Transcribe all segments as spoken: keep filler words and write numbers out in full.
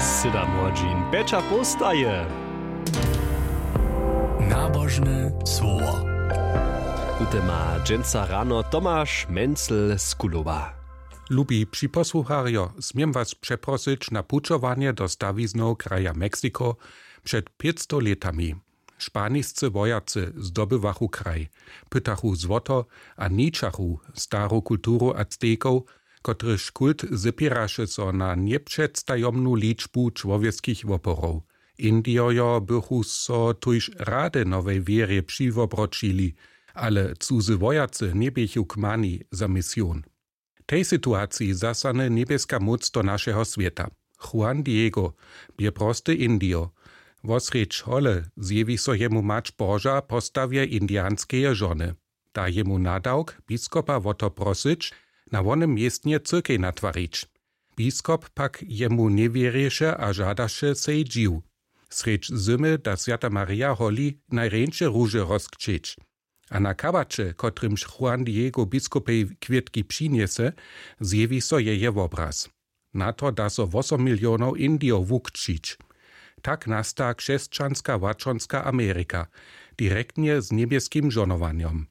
Sydam hodźin pjeća postaje. Nabožne słowo. Tute ma dźensa rano Tomaš Mencel z Kulowa. Lubi připosłucharjo, směm was přeprosyć na pućowanje do stawizneho kraja Mexiko. Před pětsto lětami španiscy wojacy zdobywachu kraj, pytachu złoto a ničachu staru kulturu Aztekow, kotryž kult zepěraše so na njepředstajomnu ličbu čłowjeskich woporow. Indijojo bychu so tuž rady nowej wěrje přiwobroćili, ale cuzy wojacy njeběchu kmani za mision. W tej situaciji zasahny njebjeska móc do našeho swěta. Juan Diego bě prosty Indijo. Wosrjedź hole zjewi so jemu mać Boža w postawje indijanskeje žony. Da jemu nadawk, biskopa wo to prosyć, na wonym městnje cyrkej natwarić. Biskop pak jemu njewěrješe a žadaše sej dźiw. Srjedź zymy da swjata Marija holi najrjeńše róže rozkćěć. A na kabaće, kotrymž Juan Diego biskopej kwětki přinjese, zjewi so jeje wobraz. Na to da so wosom milionow Indijow wukćić. Tak nasta křesćanska łaćonska Amerika, direktnje z njebjeskim žonowanjom.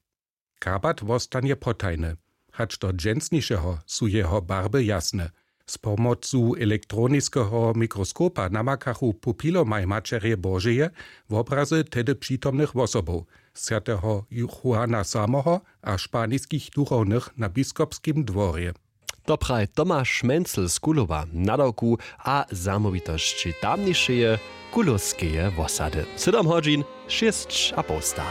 Kabat wostanje potajny, hač do dźensnišeho su jeho barby jasne. Z pomocu elektroniskeho mikroskopa namakachu pupilomaj Maćerje Božeje wobrazy tehdy přitomnych wosobow, swjateho Juana samoho a španiskich duchownych na biskopskim dworje. To praji Tomaš Mencel z Kulowa, nadawku a zamołwitosći tamnišeje kulowskeje wosady. Sydom hodźin šěsć a połsta.